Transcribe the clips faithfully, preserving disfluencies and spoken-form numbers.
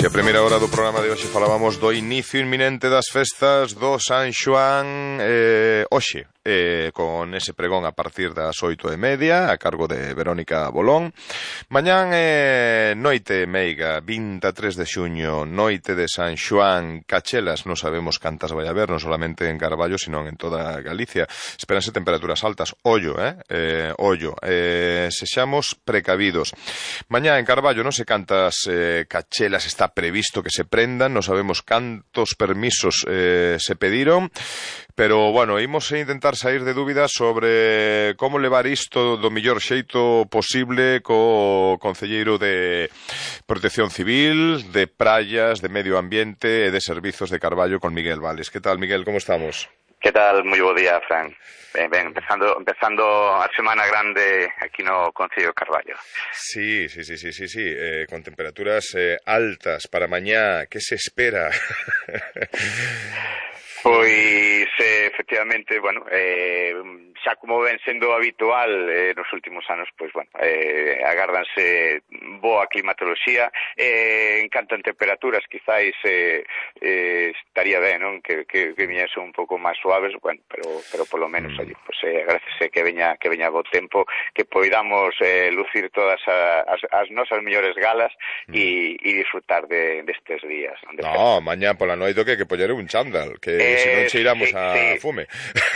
así a primeira hora do programa de hoxe falábamos do inicio inminente das festas do San Xoán eh, hoxe, eh, con ese pregón a partir das oito e media a cargo de Verónica Bolón. Mañán eh, noite meiga, vinte e tres de xuño, noite de San Xoán, cachelas, non sabemos cantas vai haber, non solamente en Carballo, sino en toda Galicia. Espéranse temperaturas altas, ollo, eh, eh ollo, eh, sexamos precavidos. Mañá en Carballo non se cantas eh, cachelas está previsto que se prendan, non sabemos cantos permisos eh, se pediron, pero, bueno, imos a intentar sair de dúbidas sobre como levar isto do mellor xeito posible co concelleiro de Protección Civil, de Praias, de Medio Ambiente e de Servizos de Carballo, con Miguel Vales. Que tal, Miguel, como estamos? Que tal? Moi bo día, Fran. Ben, ben, empezando, empezando a semana grande aquí no Concello de Carballo. Sí, sí, sí, sí, sí, sí. Eh, con temperaturas eh, altas para mañá. Que se espera? Pois, eh, efectivamente, bueno, eh, xa como ven sendo habitual eh, nos últimos anos, pois, bueno, eh, agárdanse boa climatoloxía, eh, encantan temperaturas, quizáis eh, eh, estaría ben, non? Que, que, que viñese un pouco máis suaves, bueno, pero, pero polo menos, mm. oye, pues, eh, agradece que veña, que veña bo tempo, que poidamos eh, lucir todas a, as, as nosas mellores galas e mm. disfrutar de, destes días. De no, mañá pola noite que que poñer un chándal, que eh, se non cheiramos sí, a sí. fume.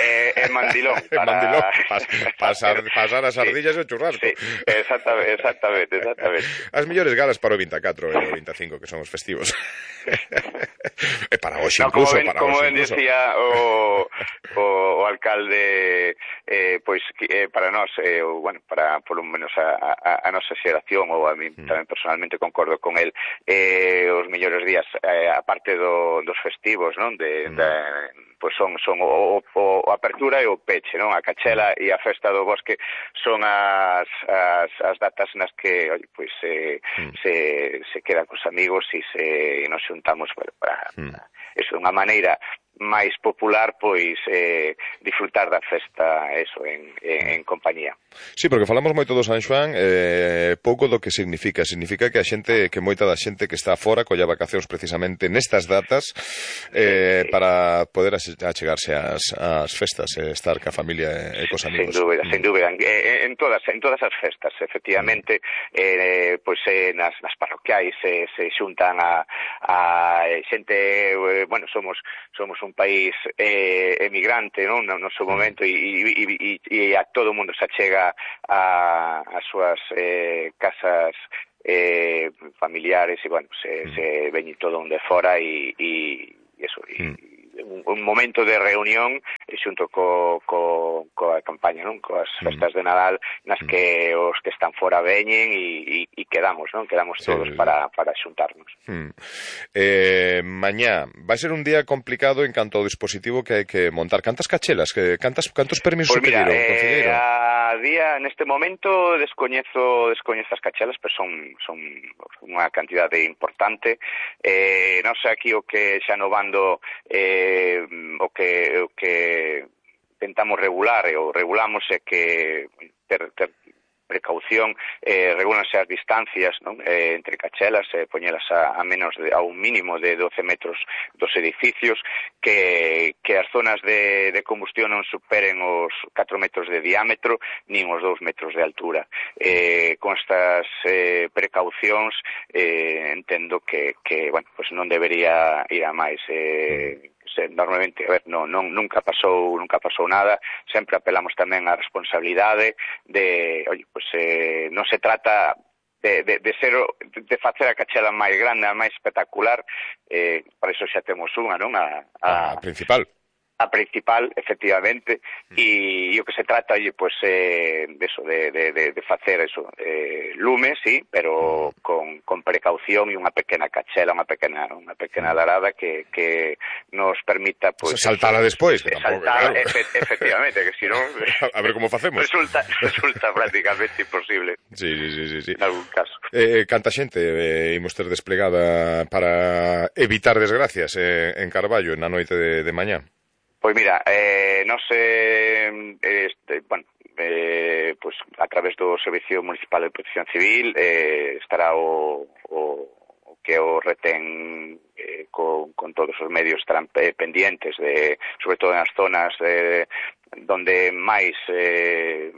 Eh, eh, mandilón. Para... mandilón, pas, pasar, pasar as ardillas sí. e o churrasco. Sí, exactamente, exactamente, exactamente. As mellores galas para o vinte e catro e o vinte e cinco, que son os festivos. E para hoxe no, incluso, como ben, para como hoxe ben incluso. decía o, o, o alcalde, eh, pois eh, para nós, eh, o, bueno, para polo menos a, a, a nosa xeración, ou a mí mm. tamén personalmente concordo con el, eh, os mellores días, eh, a parte do, dos festivos, non? De, mm. de, pois son, son o, o, o apertura e o peche, non? A cachela mm. e a festa do bosque son as, as, as datas nas que, oye, pois, eh, mm. se, se queda cos amigos e se nos xuntamos para, para mm. eso, unha maneira máis popular, pois, eh, disfrutar da festa, eso, en, en, en compañía. Sí, porque falamos moito do San Xoán, eh, pouco do que significa. Significa que a xente, que moita da xente que está fora colla vacacións precisamente nestas datas eh, sí, sí. para poder achegarse ás, ás festas, eh, estar ca familia e cos amigos. Sin dúbida, mm. sin dúbida. Eh, en todas en todas as festas, efectivamente, mm. eh, pois eh, nas, nas parroquiais eh, se xuntan a, a xente, eh, bueno, somos somos un país eh, emigrante, non, no noso momento, e, e, e, e a todo mundo se achega a, a súas eh, casas eh, familiares e, bueno, se, mm. se veñe todo un de fora e, e, e eso, e, mm. un, un momento de reunión xunto co, co, coa campaña, non? Coas festas de Nadal nas que os que están fora veñen e, e, e quedamos, non? Quedamos todos sí, para, para xuntarnos. Hmm. Eh, mañá vai ser un día complicado en canto ao dispositivo que hai que montar. Cantas cachelas? Que, cantas, cantos permisos pues mira, pediron, eh, concelleiro? A día, neste momento, descoñezo, descoñezo as cachelas, pero son, son unha cantidade importante. Eh, non sei aquí o que xa no bando eh, o que o que tentamos regular, e o regulamos é que ter, ter precaución, eh, regulanse as distancias, non? Eh, entre cachelas, eh, poñelas a, a menos de, a un mínimo de doce metros dos edificios, que, que as zonas de, de combustión non superen os catro metros de diámetro, nin os dous metros de altura. Eh, con estas eh, precaucións, eh, entendo que, que, bueno, pues non debería ir a máis. Eh, normalmente, a ver, non, non, nunca pasou nunca pasou nada, sempre apelamos tamén á responsabilidade de, oye, pues eh, non se trata de, de, de ser de facer a cachela máis grande, a máis espectacular, eh, para iso xa temos unha, non? A, a, a principal. A principal, efectivamente, e mm. o que se trata, oye, pues, eh, de eso, de, de, de, de facer eso, eh, lume, sí, pero mm. con, con precaución e unha pequena cachela, unha pequena unha pequena darada que, que nos permita, pues, saltala despois, que tampouco, saltar, claro. efe, efectivamente, que si non a ver como facemos. Resulta, resulta prácticamente imposible. Sí, sí, sí, sí, sí. En algún caso. Eh, canta xente eh, imos ter desplegada para evitar desgracias eh, en Carballo na noite de, de mañá? Pois mira, eh, non sei, este, bueno, eh, pues a través do Servicio Municipal de Protección Civil eh, estará o, o, o que o retén eh, con, con todos os medios estarán pendientes, de, sobre todo nas zonas de, donde máis eh,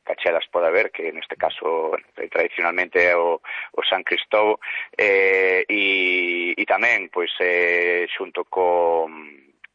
cachelas pode haber, que neste caso tradicionalmente é o, o San Cristóbal, eh, e, e tamén pois eh, xunto co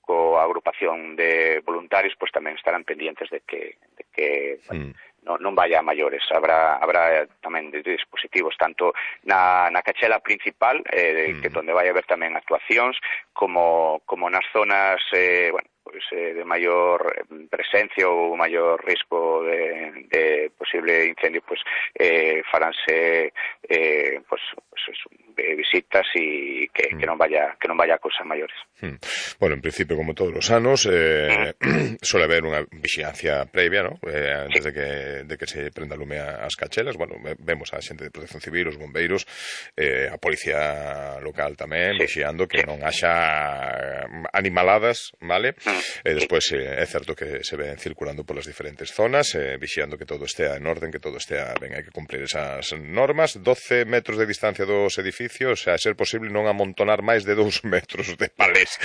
coa agrupación de voluntarios, pois tamén estarán pendientes de que, de que bueno, mm. non, non vaya a maiores. Habrá, habrá tamén de dispositivos tanto na, na cachela principal, eh, mm. que donde vai haber tamén actuacións, como, como nas zonas eh, bueno, pues, eh, de maior presencia ou maior risco de, de posible incendio, pues eh, faránse eh, pues, pues eso, visitas e que, mm. que non vaya que non vaya a cosas maiores. Mm. Bueno, en principio, como todos os anos, eh, mm. suele haber unha vixilancia previa, ¿no? Eh, antes sí. de que de que se prenda lume as cachelas. Bueno, vemos a xente de Protección Civil, os bombeiros, eh, a policía local tamén, sí. vixiando que sí. non haxa animaladas, vale? Mm. Eh, despois eh, é certo que se ven circulando polas diferentes zonas, eh, vixiando que todo estea en orden, que todo estea ben, hai que cumplir esas normas. doce metros de distancia dos edificios, a ser posible non amontonar máis de dous metros de palés.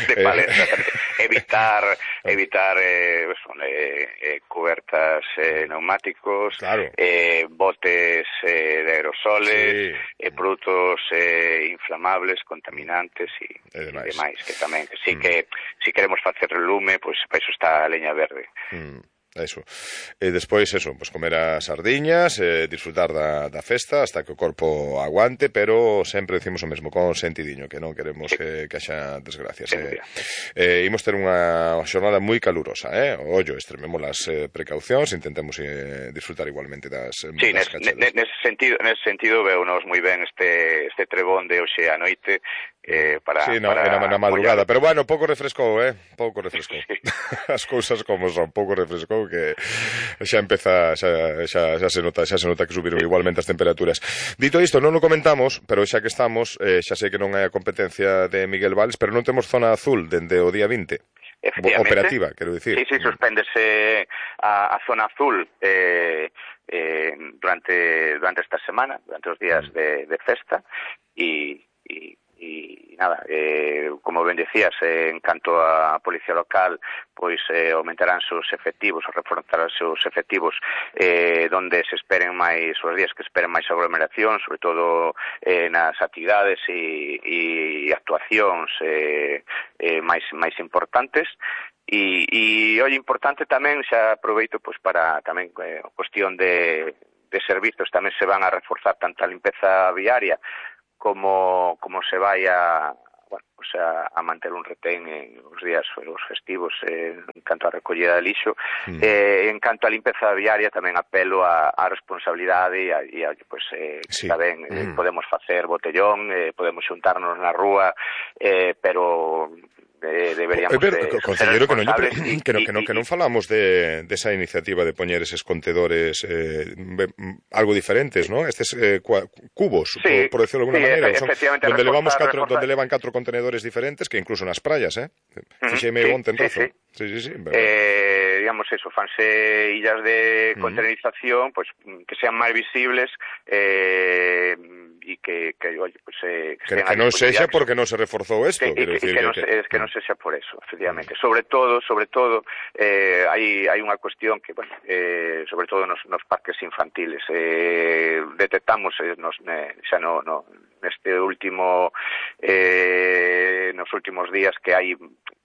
De palés, eh, evitar evitar eh, son, eh, eh, cubertas eh, neumáticos, claro. eh, botes eh, de aerosoles, sí. eh, produtos eh, inflamables, contaminantes e, e demais, que tamén que sí mm. que si queremos facer lume, pois pues, para iso está a leña verde. Mm. Eso. E despois, eso, pues comer as sardiñas, eh, disfrutar da, da festa hasta que o corpo aguante, pero sempre decimos o mesmo, con sentidiño, que non queremos sí. que, que haxa desgracias. Eh. Eh, imos ter unha xornada moi calurosa, eh? Ollo, extrememos as eh, precaucións, intentemos eh, disfrutar igualmente das, sí, das cachelas. Sí, nese sentido, nese sentido veunos moi ben este, este trebón de hoxe a noite, Eh, para, sí, no, para na, na madrugada, pero bueno, pouco refrescou, eh? Pouco refrescou. Sí. As cousas como son, pouco refrescou, que xa empeza, xa, xa, xa se nota, xa se nota que subiron sí. igualmente as temperaturas. Dito isto, non o comentamos, pero xa que estamos, eh, xa sei que non é a competencia de Miguel Valls, pero non temos zona azul dende o día vinte. Operativa, quero dicir. Sí, sí, suspéndese a, a zona azul eh, eh, durante durante esta semana, durante os días mm. de, de festa, e e nada, eh, como ben decías, eh, en canto a Policía Local, pois eh, aumentarán seus efectivos, ou reforzarán seus efectivos eh, donde se esperen máis, os días que esperen máis aglomeración, sobre todo eh, nas actividades e, e actuacións eh, eh, máis, máis importantes. E, e hoy importante tamén, xa aproveito pois para tamén eh, cuestión de, de servizos, tamén se van a reforzar tanto a limpeza viaria como como se vai a, bueno, o sea, a manter un retén en os días os festivos eh, en canto a recollida de lixo. Mm. Eh, en canto a limpeza viaria tamén apelo a, a responsabilidade e a, e a pues, eh, sí. Tamén mm. eh, podemos facer botellón, eh, podemos xuntarnos na rúa, eh, pero Eh, deberíamos eh, pero, de, concelleiro, que non, pero, y, que, no, que, no, que non falamos de, de esa iniciativa de poñer eses contedores eh, algo diferentes, ¿no? Estes eh, cubos, sí, por, por decirlo de alguna sí, manera, son, donde, levamos catro, donde levan catro contenedores diferentes, que incluso nas praias, eh? Fixeme uh-huh, onte en Rozo. Sí, sí, sí. sí eh, digamos eso, fanse illas de containerización, pues que sean máis visibles, eh, e que, que, oye, pues, eh, que, que, que non sexa porque non se reforzou isto, que, que, que, no, que, es que non sexa por eso, efectivamente. Sobre todo, sobre todo, eh, hai, hai unha cuestión que, bueno, eh, sobre todo nos, nos parques infantiles, eh, detectamos eh, nos, eh, xa no, no, neste último, eh, nos últimos días que hai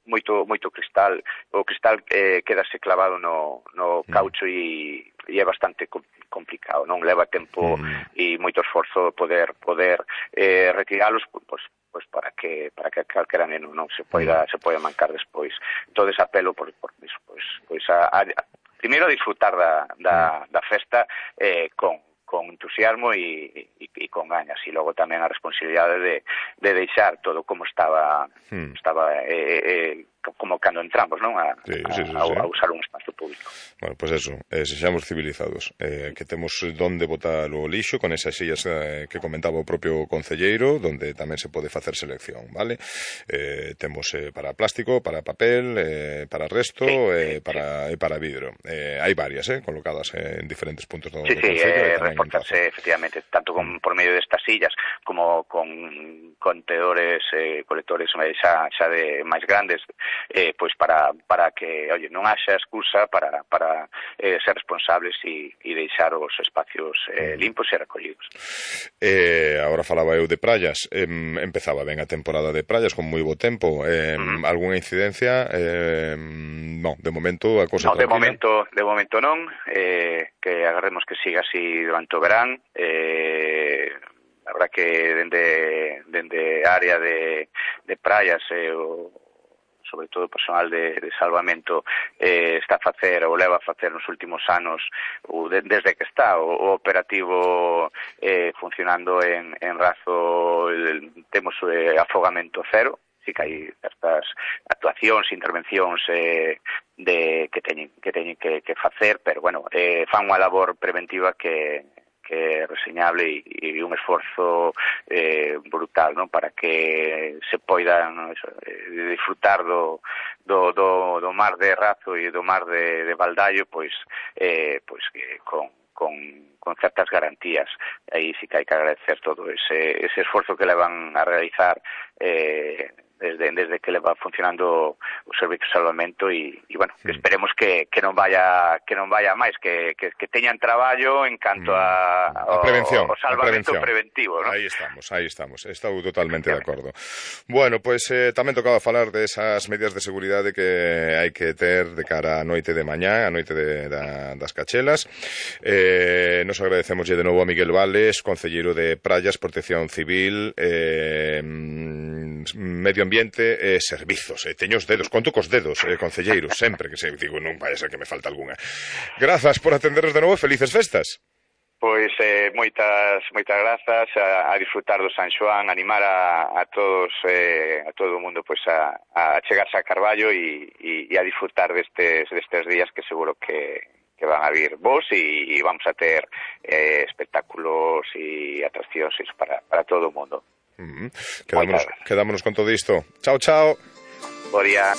moito moito cristal, o cristal eh, quedase clavado no, no caucho e, e é bastante complicado, non leva tempo mm. e moito esforzo poder poder eh, retiralos, pois pues para que para que calquera neno non se poida mm. se poida mancar despois. Entonces apelo por por iso, pois pois a, a, a primeiro a disfrutar da da, mm. da festa eh, con con entusiasmo e, e, e con gañas, e logo tamén a responsabilidade de, de deixar todo como estaba hmm. estaba eh, eh, como cando entramos, non? A, sí, sí, sí, a, sí. a usar un espazo público. Bueno, pois pues eso, eh, sexamos civilizados, eh, que temos donde botar o lixo, con esas sillas eh, que comentaba o propio concelleiro, donde tamén se pode facer selección, vale? Eh, temos eh, para plástico, para papel, eh, para resto, sí, eh, para, sí. e para vidro. Eh, hai varias, eh, colocadas eh, en diferentes puntos do, sí, do concello. Sí, sí, eh, reforzarse, efectivamente, tanto con por medio destas illas, como con contenedores, eh, colectores xa, xa de máis grandes, eh, pois para, para que, oye, non haxa excusa para, para eh, ser responsables e, e deixar os espacios eh, limpos e recollidos. Eh, agora falaba eu de praias, eh, empezaba ben a temporada de praias con moi bo tempo, eh, uh-huh. Algúna incidencia? Eh, non, de momento a cousa no, tranquila. De momento, de momento non, eh, que agarremos que siga así durante o verán. Eh, a verdad que dende, dende área de, de praias eh, o sobre todo o personal de, de salvamento eh, está a facer ou leva a facer nos últimos anos o de, desde que está o, o operativo eh, funcionando en, en Razo, el, temos eh, afogamento cero. Sí que hai certas actuacións, intervencións eh, de, que teñen que, teñen que, que facer, pero bueno, eh, fan unha labor preventiva que que é reseñable e, e un esforzo eh, brutal, ¿no? Para que se poidan eso, eh, disfrutar do, do, do, do mar de Razo e do mar de, de Valdallo, pois, eh, pois que con, con, con certas garantías. Aí sí que hai que agradecer todo ese, ese esforzo que le van a realizar eh, desde, desde que le va funcionando o servicio de salvamento e, e bueno, mm. esperemos que, que non vaya que non vaya máis, que, que, que teñan traballo en canto a, mm. a prevención, o, o salvamento prevención. preventivo, ¿no? Aí estamos, aí estamos, estou totalmente de acordo. Bueno, pois pues, eh, tamén tocaba falar de esas medidas de seguridade que hai que ter de cara a noite de mañá, a noite de, da, das cachelas. Eh, nos agradecemos de novo a Miguel Vales, concelleiro de Praias, Protección Civil, eh, Medio Ambiente e eh, Servizos. Eh, teño os dedos, conto cos dedos, eh, concelleiro, sempre que se digo, non vai a ser que me falta algunha. Grazas por atenderos de novo, felices festas. Pois eh, moitas moitas grazas, a, a disfrutar do San Xoán, animar a, a todos eh, a todo o mundo pois a, a chegarse a Carballo e, e, e a disfrutar destes destes días que seguro que que van a vir vos e, e vamos a ter eh, espectáculos e atraccións para, para todo o mundo. Mm-hmm. Quedámonos, quedámonos con todo isto. Chao, chao. Bo día.